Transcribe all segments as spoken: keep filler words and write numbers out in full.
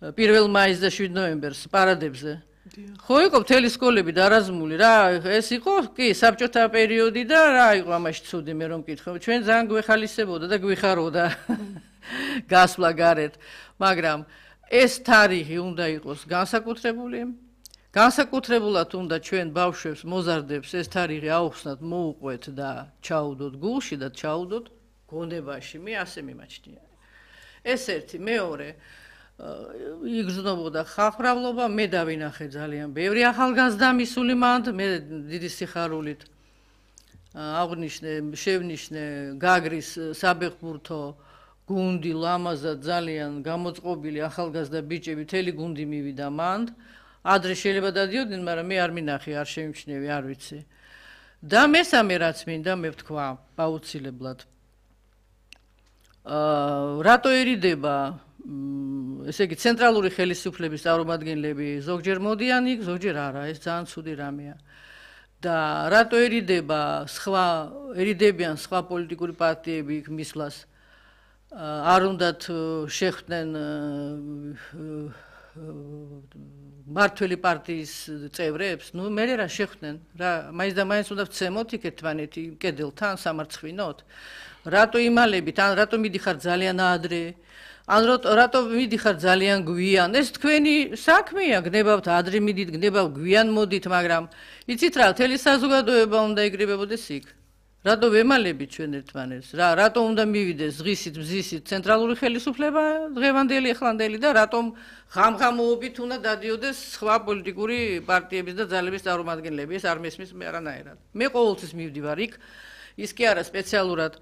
პირველ მაისს და შვიდ ნოემბერს პარადებზე. ხო იყო მთელი სკოლები დარაზმული რა, ეს იყო კი საბჭოთა პერიოდი და რა იყო ამაში ცუდი მე რომ მკითხო. ჩვენ ძალიან გვეხალისებოდა და გვიხაროდა გასვლა გარეთ, მაგრამ ეს თარიღი უნდა იყოს განსაკუთრებული. განსაკუთრებულად უნდა ჩვენ ბავშვებს, მოზარდებს ეს თარიღი აუხსნათ, მოუყვეთ და ჩაუდოთ გულში და ჩაუდოთ გონებაში. მე ასე მიმაჩნია. ეს ერთი, მეორე იგრძნობოდა ხალხმრავლობა, მე დავინახე ძალიან ბევრი ახალგაზრდა მისული მანდ, მე დიდი სიხარულით აღნიშნე, შევნიშნე გაგრის საბეღბურთო გუნდი ლამაზად ძალიან გამოწყობილი ახალგაზრდა ბიჭები, მთელი გუნდი მივიდა მანდ. ადრე შეიძლება დადიოდნენ, მაგრამ მე არ მინახე, არ შემჩნევი, არ ვიცი. და მესამე რაც მინდა მე ვთქვა, აუცილებლად. აა რატო ერიდება ესე იგი ცენტრალური ხელისუფლების წარმომადგენლები ზოგჯერ მოდიან იქ, ზოგჯერ არა, ეს ძალიან ცუდი რამეა. და რატო ერიდება სხვაერიდებიან სხვა პოლიტიკური პარტიები იქ მისვლას არ უნდათ შეხვდნენ მართველი პარტიის წევრებს, ნუ მე რა შეხვდნენ, რა მაინც და მაინც უნდა ვცემოთ იქ ერთმანეთი კედელთან სამარცხინოთ. რატო იმალებით, ან რატო მიდიხარ ძალიან ადრე? ან რატო მიდიხარ ძალიან გვიან? ეს თქვენი საქმეა, გნებავთ ადრე მიდით, გნებავთ გვიან მოდით, მაგრამ იცით რა, მთელი საზოგადოება უნდა იგრებებოდეს იქ. რატო ვემალებით ჩვენ ერთმანეთს? რა, რატო უნდა მივიდეს ღისით, მზისით ცენტრალური ხელისუფლება დღევანდელი, ახლანდელი და რატომ ღამღამოობით უნდა დადიოდეს სხვა პოლიტიკური პარტიების და ძალების წარმომადგენლები? ეს არ მესმის მე არანაირად. მე ყოველთვის მივდივარ იქ, ის კი არა სპეციალურად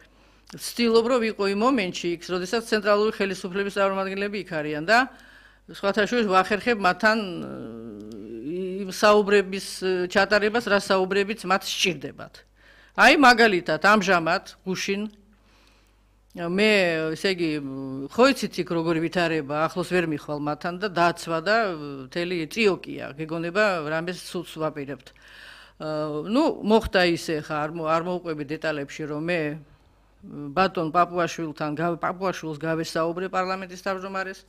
ვცდილობ რომ ვიყო იმ მომენტში იქ, როდესაც ცენტრალური ხელისუფლების წარმომადგენლები იქ არიან და სხვათა შორის ვახერხებ მათთან იმ საუბრების ჩატარებას, რა საუბრებიც მათ სჭირდებათ. აი მაგალითად ამჟამად გუშინ მე ესე იგი ხო იცით იქ როგორი ვითარება, ახლოს ვერ მიხვალ მათთან და დაცვა და მთელი წიოკია, გეგონება რამეს სულს ვაპირებთ. ნუ მოხდა ისე ხა არ მოვყვები დეტალებში რომ მე ბატონ პაპუაშვილთან პაპუაშვილს გავესაუბრე პარლამენტის თავმჯდომარეს.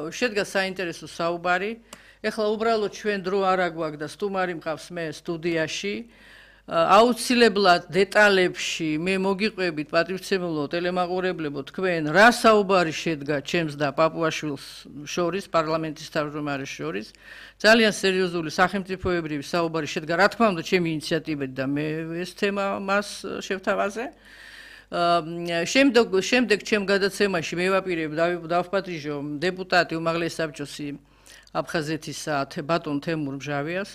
შედგა საინტერესო საუბარი. ეხლა უბრალოდ ჩვენ დრო არ აგვაქვს და სტუმარი მყავს მე სტუდიაში. აუცილებლად დეტალებში მე მოგიყვებით პატრიცემულო ტელემაყურებლებო თქვენ რა საუბარი შედგა ჩემს და პაპუაშვილს შორის პარლამენტის თავმჯდომარეს შორის ძალიან სერიოზული სახელმწიფოებრივი საუბარი შედგა რა თქმა უნდა ჩემი ინიციატივით და მე ეს თემა მას შევთავაზე შემდეგ შემდეგ ჩემ გადაცემაში მე ვაპირებ დავპატრიჟო დეპუტატი უმაღლესი საბჭოსი აფხაზეთისა ბატონ თემურ მჟავიას